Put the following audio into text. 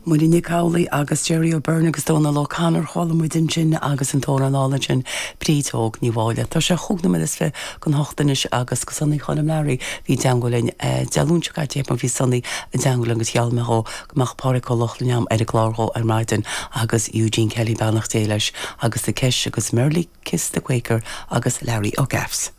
Muireann Nic Amhlaoibh agus Gerry O'Beirne agus Dónal O'Connor, chuala muid ansin agus an t-amhrán álainn sin Bríd Óg Ní Mháille. Tá sé chúig nóiméad is 28 anois agus go Sonaí Choilm Learaí bhí i dteangmháil linn Dé Luain seo caite mar bhí Sonaí i dteangmháil linn agus gheall mé dhó go mbeadh Pádraig Ó Lochlainn a'm ar an gclár dhó ar maidin agus Eugene Kelly beannacht Dé leis agus The Kesh agus Merrily Kiss the Quaker agus Larry O'Gaffs.